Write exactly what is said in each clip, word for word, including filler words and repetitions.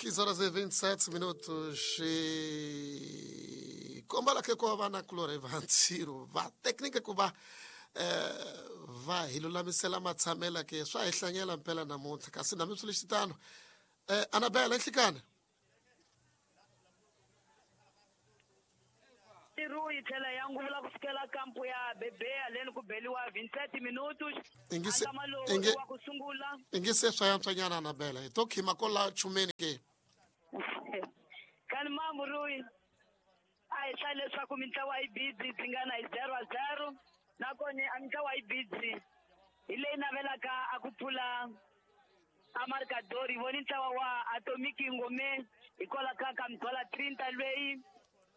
quinze horas e vinte e sete minutos. E kombala ke ko va na kulore va ntsiro va técnica ku va eh va hi lulamisela matshamela ke swa hi hlanyela mpela namuntlha kasi na mi swi lexitano eh Anabela nhlikana Tiru yi tlhela ya nguvula ku fikela kampo ya Bebea leni ku beliwa vinte e sete minutos ingise Antama lowu inge wa ku sungula ingise swa yantswanyana Anabela hi to khima ko la chumeni ke kani mambu Rui a hi hlaya leswaku mintlawa yi busy tingana hi zero a zero nakona a mintlawa yi busy hi leyi navelaka a ku pfula a marcador hi voni ntlawa wa Atomic Ngome hikwalaho ka ka mdzwala trinta lweyi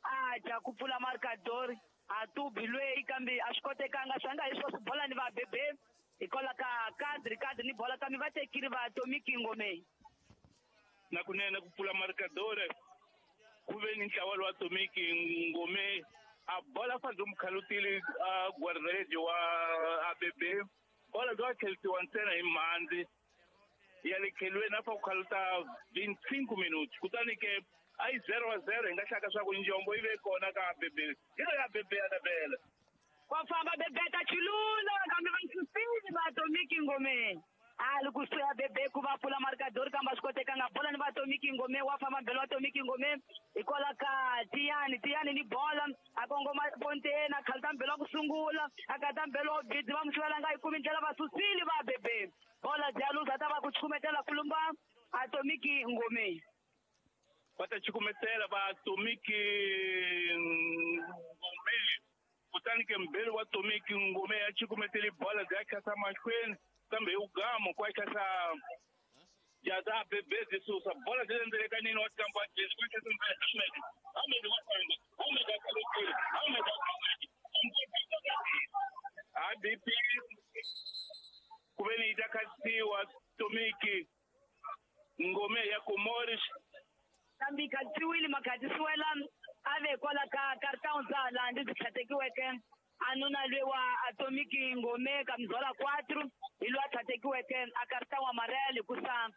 a dya ku pfula marcador a tubi lweyi kambe a swi kotekanga swi nga hi swo swi bola ni va Bebe hikwalaho ka kadri kadri ni bola kambe va tekile va Atomic Ngome na kunene ku pfula marcador ku ve ni ntlawa lowa Atomic Ngome a bola fa mukhalutile a guardaredi wa A B B bola bya tlhelisiwa ntsena hi mhandzi ya le khelweni a fa ku khaluta vinte e cinco minutos kutani ke a yi zero a zero hi nga hlaka swa ku njombo yi ve kona ka A B B hi lo ya Bebe Anabela wa famba Bebe ta chilula kambe va susile va Atomic Ngome a li kusuhi ya Bebe ku va pfula marcador kambe a swi kotekanga bola ni va Atomic Ngome wa famba mbelo wa Atomic Ngome hikwalaho ka Tiyani Tiyani ni bola a kongoma ponteni a khaluta mbelo wa ku sungula a kata mbelo wa bidzi va mu nga yi kumi ndlela va susile va Bebe bola dya luza ta va ku chukumetela kulumba Atomic Ngome va ta chukumetela va Atomic Ngome kutani ke mbelo wa Atomic Ngome ya chukumetele bola dya khasa mahlweni kambe hi ugamo kwa khasa jaza Bebe de Sousa bola dya ndzelekanini wa kampa jezi kwa khasa Ahmed Ahmed wa famba Ahmed akalokile Ahmed A B P ku ve ni yi ta khasiwa Atomic Ngome ya Comores kambe yi khatisiwile makhatisiwela a ve kwala ka cartão za laha ndzi tlhatekiweke a nuna lwe wa Atomic Ngome ka mzwala quatro hi loyi a tlhatekiweke a cartão amarelo hikusa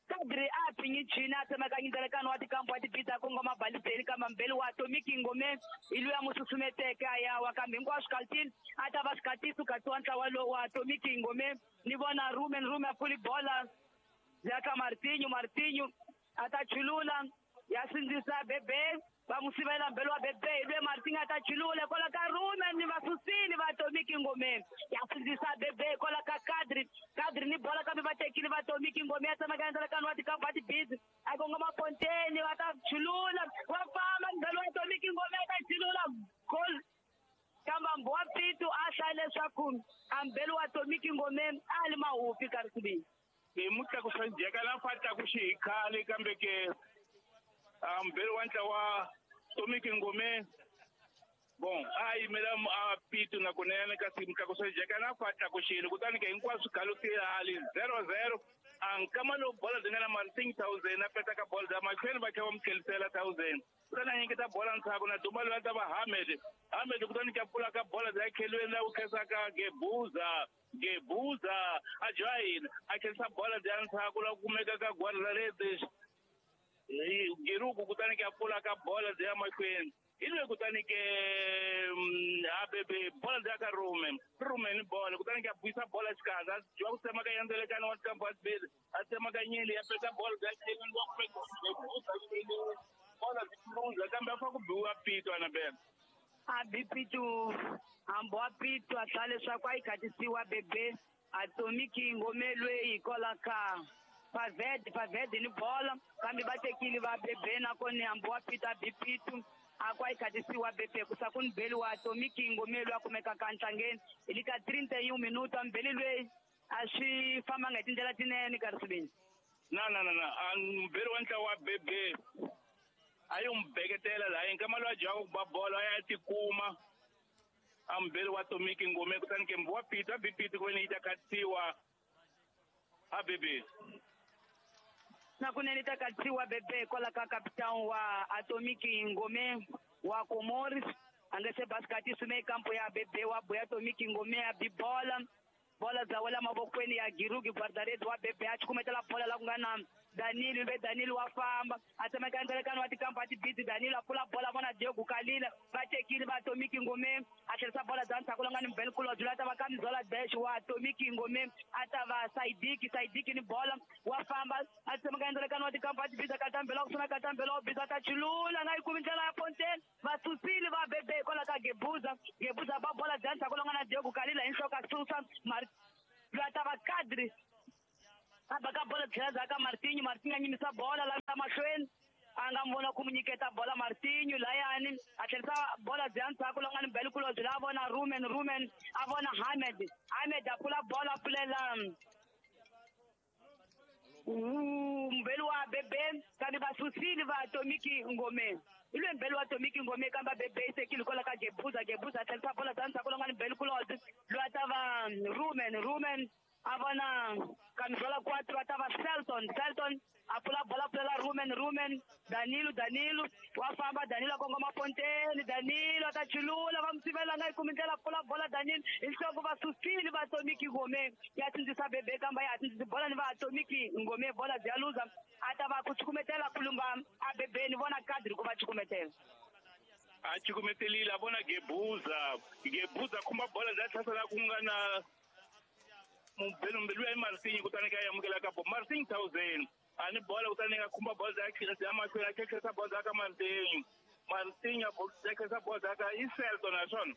kadri a phinyi chini a tsemekanya ndzelekano wa tikampo wa tibita kongoma balizeni kambe mbeli wa Atomic Ngome hi loyi a mu susumeteke a ya wa kambe hinkwaswo kaltini a ta va swikatiso katiwa ntlawa lowu wa Atomic Ngome ni vona Rumen Rumen a pfuli bola ya ka Martinho Martinho a ta chulula ya sindzisa Bebe va mu sivela mbelo wa Bebe hi lwe Martinho a ta chulula kwala ka Rumen ni va susile va Atomic Ngome ya sindzisa Bebe kwala ka Kadri Kadri ni bola kambe va tekile va Atomic Ngome ya tsemekanya ndzelekano wa tikampa wa tibizi a kongoma ponteni va ta chulula wa famba mbelo wa Atomic Ngome ya ta chulula goal kambe Mbowa Pitu a hlaya leswaku a mbelo wa Atomic Ngome a li mahupi ka risibini hi mutlakusa njheka la fa tlakuxi hi khale kambe ke a mbelo wa ntlawa Atomic Ngome bon a yimela a Pitu na kunene kasi mutlakusa njheka na fa tlakuxile kutani ke hinkwaswo khalutile hali zero zero a nkama lowu bola byi nga na Martin thousand a peta ka bola bya mahlweni va tlhela va mu tlhelisela thousand kutani a nyiketa bola ndzhaku na duma loyi a ta va Ahmed Ahmed kutani ka pfula ka bola bya khelweni la ku khensaka Gebuza Gebuza a join a khensa bola bya ndzhaku la kumeka ka guardarede Giruku kutani ka pfula ka bola bya mahlweni hi loyi kutani ke A B B bola bya ka Rumen Rumen bola kutani ka buyisa bola xikanza a dyiwa ku tsema ka yandzelekano wa tikampa wa tibili a tsema ka nyili ya peta bola bya khelweni wa kumeka Gebuza bola byi luza kambe a fa ku biwa Pitu Anabela a bi Pitu hambi wa Pitu a hlaya leswaku a yi khatisiwa Bebe Atomic Ngome lweyi hikwalaho ka Paved Paved ni bola kambe va tekile va Bebe nakona hambi wa Pitu a bi Pitu a ku a yi khatisiwa Bebe ku sa ku ni beli wa Atomic Ngome loyi a kumekaka ntlangeni hi le ka trinta e um minuto a mbeli lweyi a swi fambanga hi tindlela tinene ka risibini na na na na a mbeli wa ntlawa wa Bebe a yi n'wi beketela laha yi nkama loyi a dyaku ku ba bolo a ya tikuma a mbeli wa Atomic Ngome kutani ke wa Pitu a bi Pitu ku ve ni yi ta khatisiwa a Bebe na kunene ta khatisiwa Bebe kwala ka capitão wa Atomic Ngome wa Comores a nga se basikati sume kampo ya Bebe wa boya Atomic Ngome ya bi bola bola dza wela mavokweni ya Girugi guardarede wa Bebe a chukumetela bola la ku nga na Danilo ve Danilo wa famba a tsemeka ndzelekano wa tikampa tibiti Danilo a pfula bola vona Diego Kalila va tekile va Tomiki Ngome a tlherisa bola bya ndzhaku longa ni Mbele Kulobye loyi a ta va Kamizola Dash wa Tomiki Ngome a ta va Saidiki Saidiki ni bola wa famba a tsemeka ndzelekano wa tikampa tibiti katambela kusuna katambela wa biza ta chilula nga yi kumi ndlela ya Fontaine va susile va bebe hikwalaho ka Gebuza Gebuza ba bola bya ndzhaku longa na Diego Kalila hi nhloko a susa loyi a ta va Kadri a baka bola tlhela ndzhaku ka Martinho Martinho a nyimisa bola la mahlweni a nga vona ku mu nyiketa bola Martinho layani a tlherisa bola bya ndzhaku la nga ni Mbele Kulobye la a vona Rumen Rumen a vona Hamed Hamed a pfula bola a pfulela Mbele wa Bebe kambe va susile va Tomiki Ngome i lwe Mbele wa Tomiki Ngome kambe Bebe i tekile kwala ka Gebuza Gebuza a tlherisa bola bya ndzhaku la nga ni Mbele Kulobye loyi a ta va Rumen Rumen a vona Kamizola quatro a ta va Selton Selton a pfula bola pfulela Rumen Rumen Danilo Danilo wa famba Danilo a kongoma Fontaine Danilo a ta chulula va mu sivela nga yi kumi ndlela pfula bola Danilo hi nhloko va susile va Tomiki Ngome ya sindzisa Bebe kamba ya sindzisi bola ni va Tomiki Ngome bola bya luza a ta va ku cukumetela kulumba a Bebe ni vona Kadri ku va cukumetela a cukumetelile a vona Gebuza Gebuza khumba bola bya tlhasela ku nga na Mbele ya Martinho kutani ka amukela ka bo Martinho thousand ani bola kutani ka khumba bola ya ya mahlweni a khekhesa bola ka Martinho Martinho a khekhesa bola ka i Selton naswona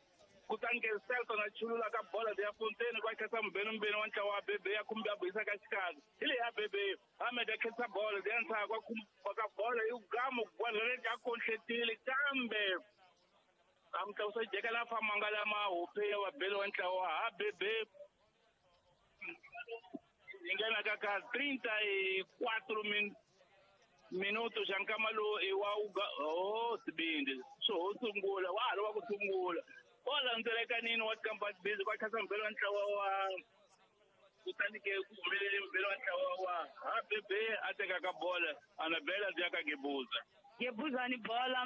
kutani ke Selton a chulula ka bola ya Fontaine kwa khetsa Mbele Mbele wa ntlawa wa Bebe ya khumba ya buyisa ka xikarhi hi leyi ya Bebe Ahmed a khetsa bola ya ndzhaku ka khumba ka bola yi gama bola leyi a konhletile kambe a mutlakusa jeka la famanga lama hope ya Bele wa ntlawa ha Bebe ingena ka ka trinta e quatro min minutos xa nkama lowu i wa uga oh sibindi so ho sungula wa ha ri wa ku sungula o landzelekanini wa tikampa busy kwa khasa mbele wa ntlawa wa kutani ke ku humelele mbele wa ntlawa wa ha Bebe a tekaka bola Anabela bya ka Gebuza Gebuza ni bola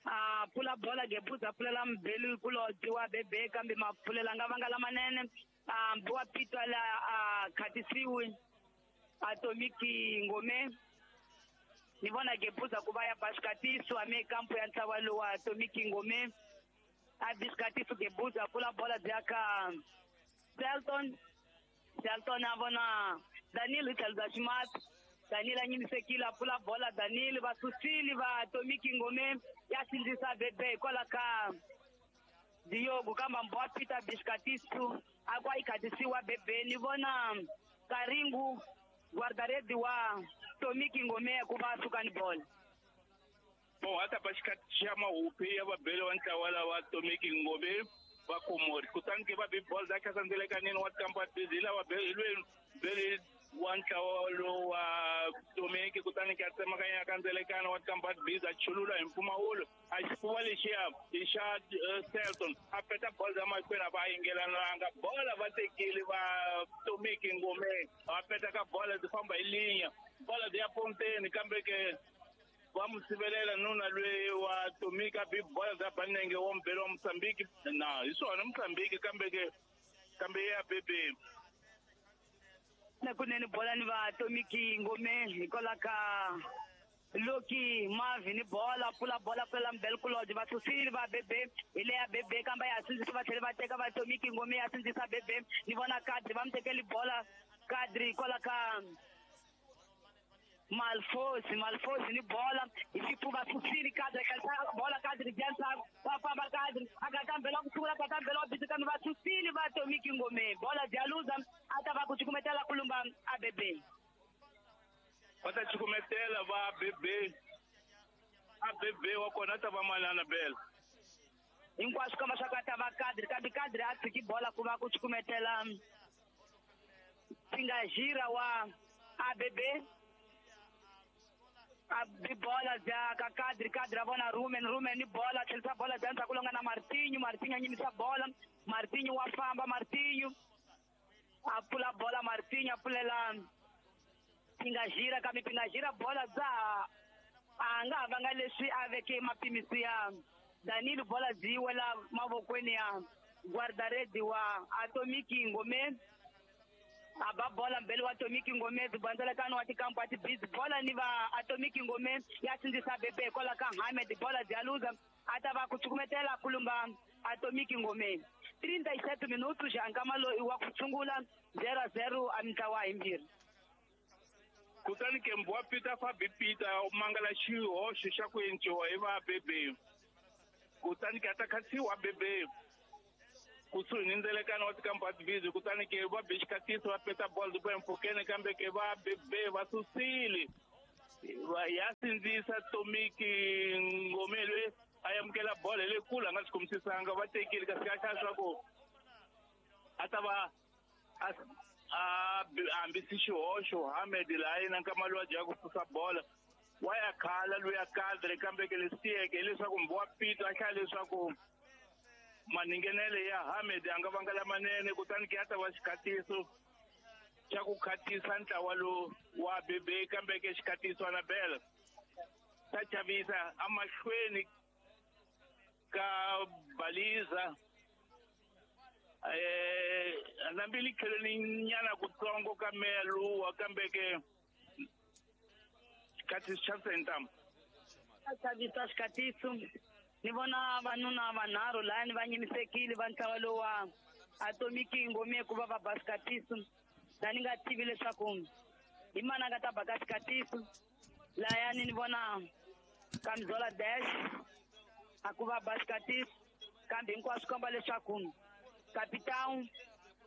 a pfula bola Gebuza pfulela Mbele Kulobye wa Bebe kambe mapfulela nga vanga lamanene a wa Pitwa la a khatisiwi a Tomiki Ngome ni vona Gebuza ku va ya basikatiso ame kampo ya ntlawa lowa Tomiki Ngome a bisikatiso Gebuza pfula bola bya ka Selton Selton a vona Danilo hi tlhelo bya ximatsi Danilo a nyimisekile a pfula bola Danilo va susile va Tomiki Ngome ya sindzisa Bebe hikwalaho ka Diogo kamba Mbowa Peter bisikatiso a kwa yi khatisiwa Bebe ni vona Karingu guardaredi wa Tomiki Ngome ku va suka ni bola bon a ta ba xikati xa mahupi ya vabele wa ntlawa lawa Tomiki Ngome va Komori kutani ke va bi bola za khasa ndzelekanini wa tikampa busy lava lweni bele wa ntlawa lowa Tomiki kutani ke a tsemakanya ka ndzelekano wa tikampa busy a chulula hi mpfumawulo a xifuva lexiya i xa Selton a peta bola ya mahlweni a va yingelananga bola va tekile va Tomiki Ngome va peta ka bola byi famba hi linya bola byi ya Fontaine kambe ke va mu sivelela nuna lweyi wa Tomiki a bi bola bya Banenge wa Mbele wa Mozambique na hi swona Mozambique kambe ke kambe ya Bebe na kunene bola ni va Tomiki Ngome hikwalaho ka Loki Mavi ni bola pfula bola pfulela Mbele Kulobye va susile va Bebe hi leya Bebe kambe ya sindzisa va tlhela va teka va Tomiki Ngome ya sindzisa Bebe ni vona Kadri va mu tekeli bola Kadri hikwalaho ka Malfosi Malfosi ni bola hi xifuva susile Kadri a bola Kadri bya ndzhaku va famba Kadri a katambela ku sungula katambela wa bisi kambe va susile va Tomiki Ngome bola bya luza a ta va ku cukumetela kulumba a Bebe va ta cukumetela va Bebe a Bebe wa kona ta va manana Bela hinkwaswo kamba swa ka ta va Kadri kambe Kadri a tshiki bola ku va ku cukumetela Singajira wa a Bebe a bi bola bya ka Kadri Kadri a vona Rumen Rumen ni bola tlherisa bola bya ndzhaku longa na Martinho Martinho a nyimisa bola Martinho wa famba Martinho a pfula bola Martinho a pfulela Pingajira kambe Pingajira bola bya a nga ha vanga leswi a veke mapimisi ya Danilo bola byi wela mavokweni ya guardaredi wa Atomiki Ngome A ba bola mbele wa Atomic Ngome bandzalakano wa tikampu a tibizi bola ni va Atomic Ngome ya sindzisa bebe kwala ka Hamed bola bya luza a ta va ku cukumetela kulumba Atomic Ngome trinta e sete minutos já nkama loyi wa ku sungula zero a zero a mintlawa himbirhi. Kutani ke Mbwa Peter Fabi Peter u mangala xihoxo xa ku enciwa hi va bebe kutani ke a ta khatsiwa bebe kusuhi ni ndzelekano wa tikampu a tibizi kutani ke va be xikatiso va peta bolo ti empfhukeni kambe ke va bebe va susile ya sindzisa Atomic Ngome loyi a amukela bolo hi le kule a nga swi khomisisanga va tekile kasi ka hlaya swa ku a ta va a a hambisi xihoxo Hamed laha yena nkama lowu a dyaka ku susa bola wa ya khala loyi kadre kambe ke leswi tiyeke hileswaku Mbwa Peter a hlaya leswaku maningenele ya Hamed a nga vanga lamanene kutani ke ya ta va xikatiso xa ku khatisa ntlawa lowu wa bebe kambe ke xikatiso Anabela ta chavisa amahlweni ka baliza eh nambili kheleni nyana kutsongo ka meluwa kambe ke xikatiso xa sentam chavisa xikatiso ni vona vanuna vanharhu laha ni va nyimisekile va ntlawa lowu wa Atomic Ngome ku va va ba xikatiso la ni nga tivi leswaku hi mani a nga ta ba ka xikatiso layani ni vona Kamizola Dash a ku va ba xikatiso kambe hinkwaswo komba leswaku Capitão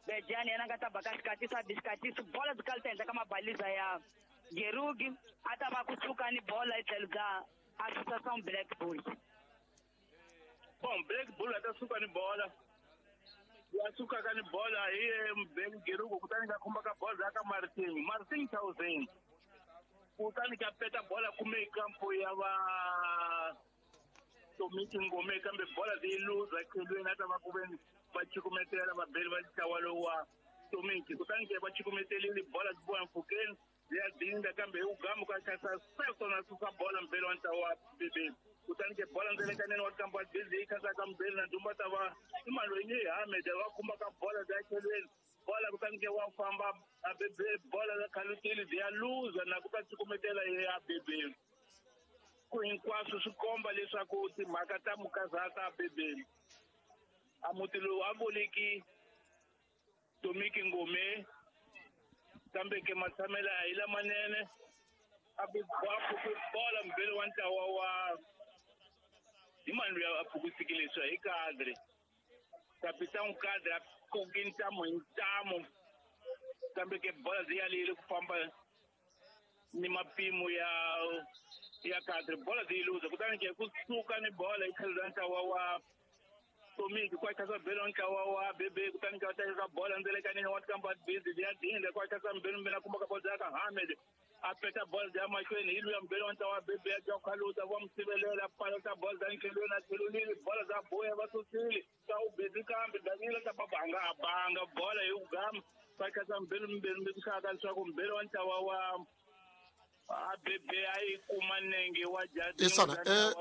Bejani yena a nga ta ba ka xikatiso a bi xikatiso bola byi kala ta endla ka mabaliza ya Gerugi a ta va kusuka ni bola hi tlhelo bya Associação Black Bulls. Bom, Black Bull a ta suka ni bola ya sukaka ni bola hi Ben Gerugu kutani ka khumba ka bola ka Martin Martin Thousand kutani ka peta bola kume kampo ya va Atomic Ngome kambe bola leyi luza khelweni a ta va ku veni va cukumetela vabeli va ntlawa lowu wa Atomic kutani ke va cukumetelile bola byi boha mpfhukeni ya dinda kambe hi ugamu ka khasa Selton a susa bola mbeli wa ntlawa wa bebe kutani ke bola ndzelekaneni wa kampo wa bizi yi khasa ka mbeli na ndumba ta va i mali loyi ni Hamed wa khumba ka bola bya khelweni bola kutani ke wa famba a bebe bola la khalutile byi ya luza na ku ta cukumetela ya bebe ku hinkwaswo swi komba leswaku timhaka ta mukazata bebe a muti lowu a vuliki Atomic Ngome kambe ke matshamelo a hi lamanene a phuki bola mbeli wa ntlawa wa hi mani loyi a phukisikile leswi hi kadre Capitão Kadre a koki ntamu hi ntamu kambe ke bola byi yalile ku famba ni mapimo ya ya kadre bola byi luza kutani ke kusuka ni bola hi tlhelo ra ntlawa wa Atomic kwa khasa belo ntlawa wa bebe kutani ka teka bola ndzelekaneni wa tikamba bizi ya dinda kwa khasa mbelo mbela kumba ka bola ka Hamed a peta bola ya mahlweni hi luya mbelo wa ntlawa wa bebe ya khaluta wa msivelela pala ta bola za nkhelweni a tlhelonile bola za boya va susile ka u bezi kambe Daniel ta babanga a banga bola hi ugama kwa khasa mbelo mbelo mbelo ka leswaku mbelo wa ntlawa wa a bebe a yi kuma nenge wa Isana, eh,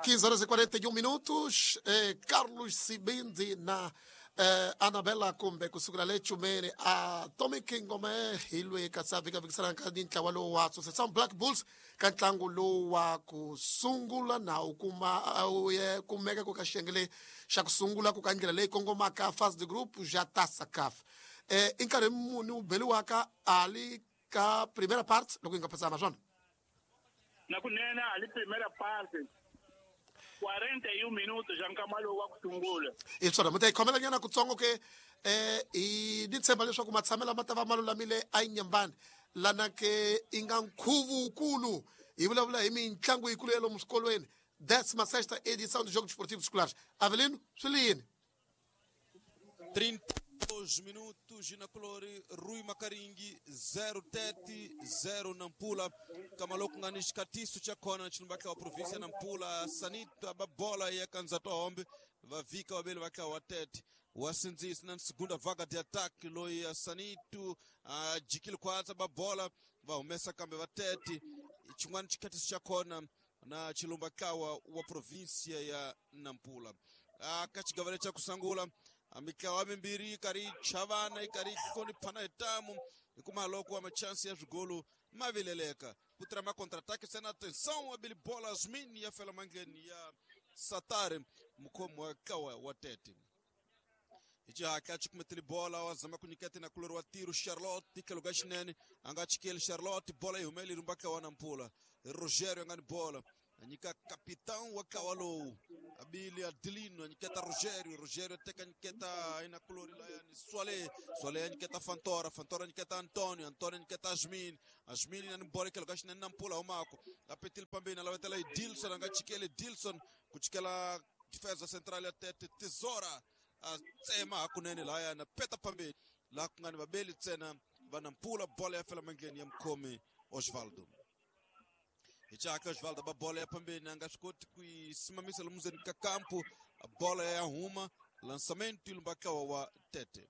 quinze horas e quarenta e um minutos, eh, Carlos Sibindi na eh, Anabela kumbe kusukela le Chumene Atomic Ngome hi lwe ka sa vika vikisana ka ntlawa lowu wa Associação Black Bulls ka ntlangu lowu wa ku sungula na u kuma u ye kumeka ku ka xiyenge xa ku sungula ku ka ndlela leyi kongomaka fase de groupe já Taça C A F eh, i nkarhi muni wu beliwaka ali ka primeira parte loko yi nga phasana swona na kunene ali primeira parte quarenta e um minutos já nkama lowu wa ku sungula hi swona mi ta yi khomela nyana kutsongo ke eh hi ni tshemba leswaku matshamelo ma ta va ma lulamile a yi nyambani lana ke i nga nkhuvu wukulu hi vulavula hi mitlangu yikulu ya lomu swikolweni décima sexta edição dos Jogos Esportivos Escolares. Avelino, swi li yini? trinta e dois minutos na colori Rui Makaringi zero Tete zero Nampula kamaloko ngani xikatiso cha khona chilumbatla wa província Nampula Sanita babola ya kanzato hombe vavika vaveli va tlawa Tete wa sindzisa na segunda vaga de ataque loyi ya Sanito a jikile kwatsa babola va humesa kambe va Tete xin'wana xikatiso xa khona na chilumba tlawa wa província ya Nampula a ka xigavele xa kusangula. Mitlawa mimbirhi yi karhi yi chavana yi karhi yi hloniphana hi tamu hikuma loko wa machansi ya swigolo ma vileleka ku tirha ma contre-attaque sena atenção abili bola Asmin ya fela mandleni ya Satari mukhomi wa ntlawa wa Tete. Hi xihatla a cukumetile bola wa zama ku nyiketa na kulori wa tiro Charlotte tlhelo ka xinene a nga chikeli Charlotte bola yi humele yi rumba ntlawa wa Nampula Rogério a nga ni bola a nyika capitão wa ntlawa lowu abili Adelino a nyiketa Rogério Rogério a teka nyiketa ina kulori layani Swale Swale a nyiketa Fantora Fantora a nyiketa Antonio Antonio a nyiketa Asmin Asmin na ni bola tlhelo ka xinene Nampula humako a petile pambeni a lavetela Edilson a nga chikeli Edilson ku chikela defesa central ya Tete Tesoura a tsema hakunene laya na peta pambeni laha ku nga ni vabeli ntsena va Nampula bola ya fela mandleni ya mukhomi Osvaldo. Hi chaka Osvaldo ba bola ya pambeni a nga swi koti ku yi simamisa lomu ndzeni ka kampu bola ya huma lançamento lumba ntlawa wa Tete.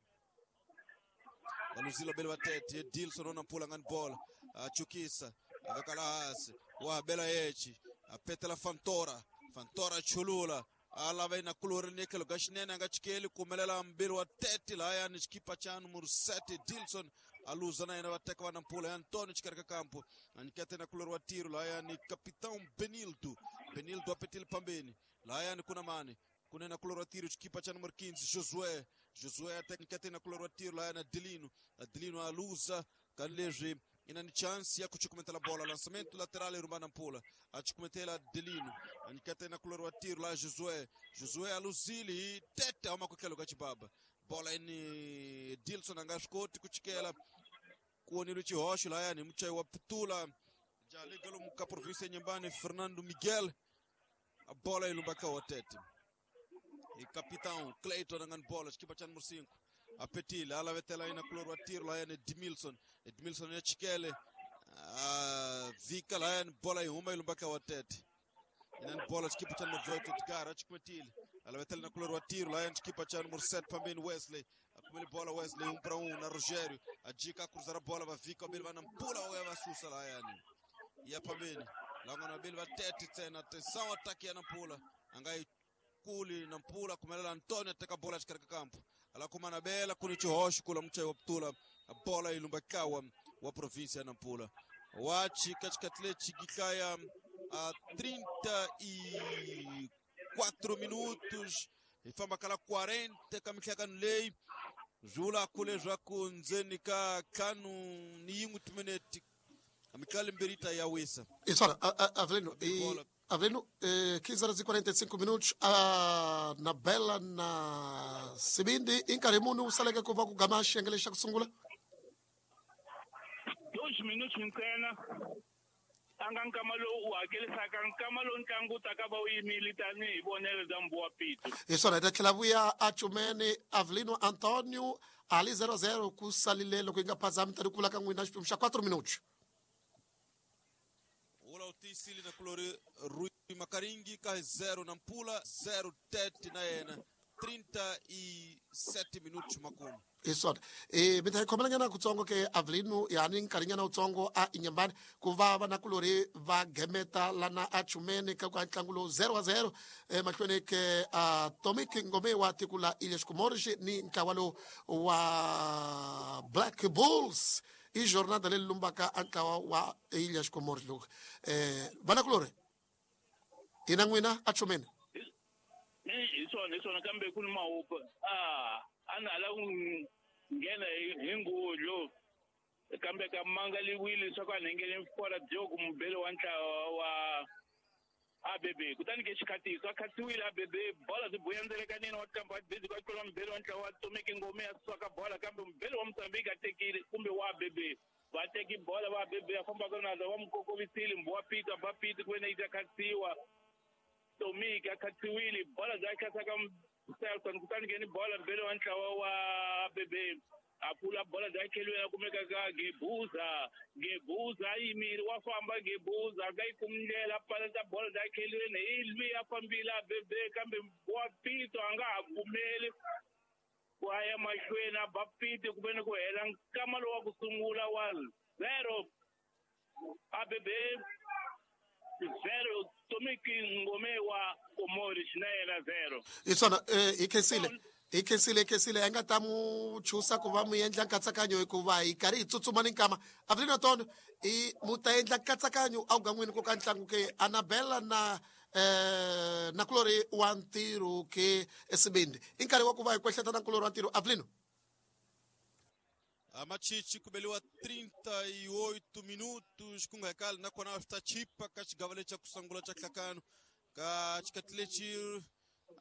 Valuzile bele va Tete Edilson wa Nampula nga ni bola a chukisa a veka laha hansi wa bela yechi a petela Fantora Fantora chulula a lava ina kulori ni tlhelo ka xinene a nga chikeli kumelela mbili wa Tete lahayani xikipa xa numero sete Dilson a luza na yena va teka va Nampula ya Antonio xikarhi ka kampo a nyiketa na kulori wa tiro lahayani capitão Benildo Benildo a petile pambeni lahayani kuna mani kunena kulori wa tiro xikipa xa numero quinze Josué Josué a teka nyiketa na kulori wa tiro lahayani Adelino Adelino a luza ka leswi ina ni chance ya kuchukumetela bola lançamento lateral e rumba Nampula a chukumetela Adelino a nyiketa na kulori wa tiro la Josué Josué a luzili Tete huma ku tlhelo ka xibaba bola ini Dilson a nga swi koti ku chikela ku vonile xihoxo lahayani hi muchayi wa Putula jaliga lomu ka province ya Nyembani Fernando Miguel a bola yi lumba ka wa Tete hi capitão Clayton a nga ni bola xikipa xa numero cinco a petile a lavetela ina kulori wa tiro lahayani Edmilson Edmilson ya chikele a vika lahayani bola yi huma yi lumba ka wa Tete ina ni bola xikipa xa numero dezoito Edgar a chukumetile a lavetela na kulori wa tiro lahayani xikipa xa numero sete pambeni Wesley a kumele bola Wesley um para um na Rogério a jika a cruzar a bola va vika vabeli va Nampula va va susa lahayani ya pambeni langana vabeli va Tete ntsena atenção ataque ya Nampula a nga yi kuli Nampula kumelela Antonio a teka bola xikarhi ka kampo ala kuma na bela kuni xihoxo kula muchayi wa Putula bola yi lumba ntlawa wa province ya Nampula wa chika xikhathi lexi gihlaya a trinta e quatro minutos hi famba kala quarenta ka mihlangano leyi swi vula ku leswaku ndzeni ka ntlhanu ni yin'we timinete mitlalo mbirhi yi ta ya wisa. Isora, Avelino, e Avelino, eh, quinze horas e quarenta e cinco minutos, a na Bela na Sibindi, em nkarhi wu saleke ku va ku gama xiyenge xa ku sungula? Dois minutos ntsena a nga nkama lowu u hakelisaka nkama lowu ntlangu wu taka va wu yimile tanihi vonelo bya Mbuwa Pito. Hi swona hi ta tlhela vuya a Cumene Avelino Antonio ali zero zero ku salile loko yi nga phazami tani ku vula ka n'wina xiphemu xa quatro minutos. Ula u tiyisile na kulori Rui Makaringi ka zero Nampula zero Tete na yena trinta e sete minutos makumu. Hi swona e mi ta hi khomelanyana kutsongo ke Avelino yani nkarhinyana wutsongo a Inyambani ku va vanakulori va gemeta lana a Chumene ka ku ntlangu lowu zero wa zero emahlweni ke a Tomic Ngome wa tiko la Ilhas Comores ni ntlawa lowu wa Black Bulls i jornada leyi lumbaka a ntlawa wa Ilhas Comores lowu eh vanakulori hina n'wina a Chumene. Hi swona hi swona kambe ku ni mahupa a a na hala ku nghena hi ngudlu kambe ka mangaliwile leswaku a nhengele fora Diogo mubeli wa ntlawa wa A B B kutani ke xikhatiso a khatiwile A B B bola byi buya ndzelekanini wa kambe wa busy kwa tlula mubeli wa ntlawa wa Tomiki Ngome ya suka bola kambe mubeli wa Mozambique a tekile kumbe wa A B B va teki bola va A B B a fambaka na wa mukokovisile Mbuwa Pito a ba Pito ku vena yi ta khatiwa Tomiki a khatiwile bola bya khatsaka Selton kutani ke ni bola mbele wa ntlawa wa A B B a pfula bola bya kheliwe ya kumeka ka Gebuza Gebuza a yimile wa famba Gebuza a nga yi kumi ndlela a paleta bola bya kheliweni hi lwi a fambile A B B kambe wa Pito a nga ha pfumeli ku a ya mahlweni a ba Pito ku veni ku hela nkama lowu wa ku sungula wa zero A B B zero Tomiki Ngome wa Komori na yena zero. Hi swona eh hi khensile Hi khensile hi khensile a nga ta mu chusa ku va mu endla nkatsakanyo hikuva hi karhi hi tsutsuma ni nkama Avelino Antonio i mu ta endla nkatsakanyo awugan'wini ku ka ntlangu ke Anabela na eh na kulori wa ntirho ke esibindi i nkarhi wa ku va hi kwehleta na kulori wa ntirho Avelino. Machichi kubeliwa trinta e oito minutos kungahekali nakona swi ta chipa ka xigava lexi xa ku sungula xa nhlakano ka xikati lexi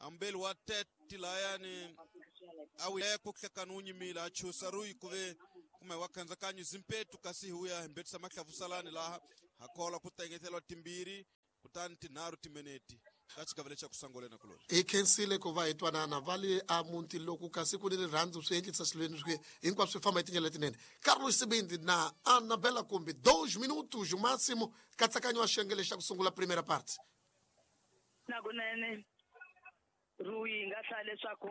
ambeli wa tete layani a wuyeko nhlakano wu nyimile a chusa ruyi ku ve kumbe wa khandzakanya zimpetu kasi hi wuya hi mbetisa mahlavusalani laha ha kola ku tengeteliwa timbirhi kutani tinharhu timinete ka xigava lexi xa ku sungula na kuloni. Hi khensile ku va hi twanana va le a muti loko kasi ku ni rirhandzu swi endlisa swilweni swi hinkwaswo swi famba hi tindlela letinene. Carlos Sibindi na Anabela Kumbi dois minutos o máximo nkatsakanyo wa xiyenge lexi xa ku sungula primeira parte. Nakunene Rui hi nga hlaya leswaku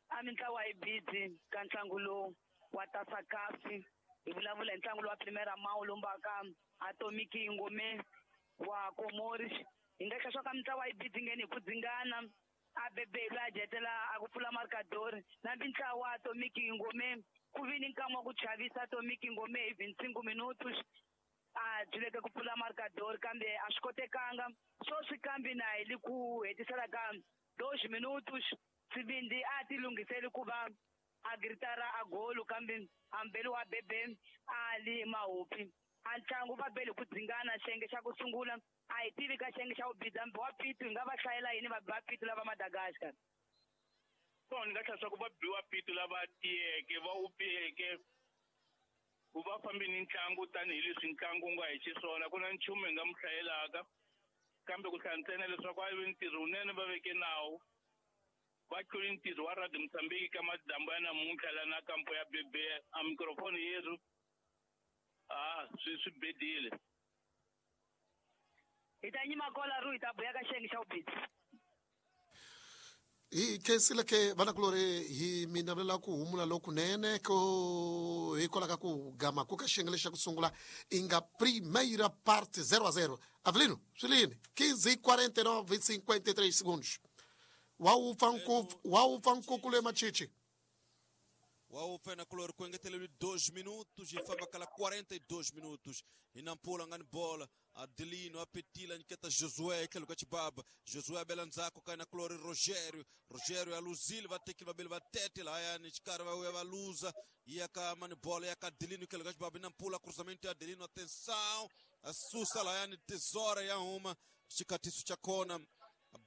a mintlawa yi busy ka ntlangu lowu wa Tasakasi hi vulavula hi ntlangu lowu wa Primeira Mão lombaka Atomic Ngome wa Komori hi nga hlaya swa ka mintlawa yi busy ngheni hi ku dzingana a bebe loyi a dyetela a ku pfula markadori na mintlawa Atomic Ngome ku vi ni nkama wa ku chavisa Atomic Ngome hi vinte e cinco minutos a dyuleke ku pfula markadori kambe a swi kotekanga swoswi kambe na hi le ku hetisela ka dois minutos Sibindi a ti lunghiseli ku va a gritara a golo kambe ambeli wa bebe a li mahopi a ntlangu va bele ku dzingana xiyenge xa ku sungula a hi tivi ka xiyenge xa vubidza mbi wa pitu hi nga va hlayela yini va ba pitu lava Madagascar. So ni nga hlaya swa ku va biwa pitu lava tiyeke va wupeke ku va fambi ni ntlangu tanihileswi ntlangu wu nga hi xiswona ku na nchumu hi nga mu hlayelaka kambe ku hlaya ntsena leswaku a vi ntirho wunene va veke nawu va tluli ntirho wa Radio Mozambique ka madyambu ya namuntlha la na kampo ya bebe a mikrofoni yerhu a swi swi bedile. Hi ta nyima kola ru hi ta buya ka xiyenge xa vubidzi. Hi khensile ke vanakulori hi mi navelela ku humula lokunene ko hikwalaho ka ku gama ku ka xiyenge lexi xa ku sungula i nga primeira parte zero a zero. Avelino swi lini quinze quarenta e nove cinquenta e três segundos wa wupfa nkuku wa wupfa nkuku le Machichi wa wupfa na kulori ku engeteleliwe dois minutos hi famba kala quarenta e dois minutos hi Nampula nga ni bola Adelino apetila nyiketa Josué etlhelo ka xibaba Josué abela ndzhaku ka na kulori Rogério Rogério ya luzile va tekile vabeli va tete lahayani xikarhi va vuya va luza ya ka mani bola ya ka Adelino etlhelo ka xibaba Nampula cruzamento ya Adelino atenção a susa lahayani tesora ya huma xikatiso xa kona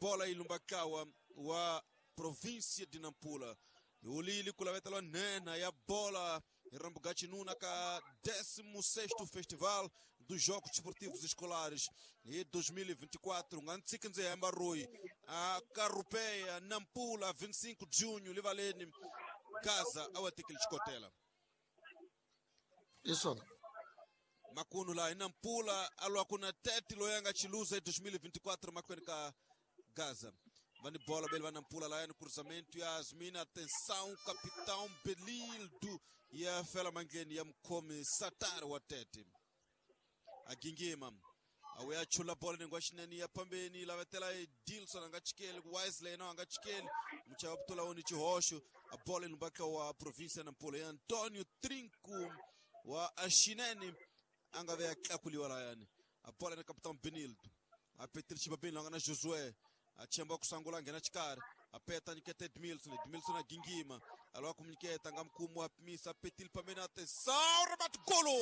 bola yi lumbakawa wa província de Nampula Ulili kulavetela nena ya bola Rambugatinuna ka décimo sexto Festival dos Jogos Desportivos Escolares e dois mil e vinte e quatro ngantsikinze hamba Rui a Carrupeia Nampula vinte e cinco de junho livaleni Gaza awatekele xikotela Isso makunu la Nampula alwa kuna tete loyanga chiluza em dois mil e vinte e quatro makwena ka Gaza Vani bola bele va Nampula lá no cruzamento Yasmina atenção capitão Belildo e a Fela Mangeni ya mkhomi Satar wa tete agingima awe achula bola nengwa xinene ya pambeni lavetela Dilson anga chikeli Wesley no anga chikeli muchava putula oni chihoxo a bola ilumbaka wa província Nampula ya Antonio Trinco wa Axinene anga ve tlakuliwa layani a bola na capitão Benildo apetile xibabeni langa na Josué achemba kusangula ngena xikarhi apeta nyiketa Edmilson Edmilson agingima alwa kumnyiketa nga mkhumu wa pimisa apetile pambeni atenção remate golo.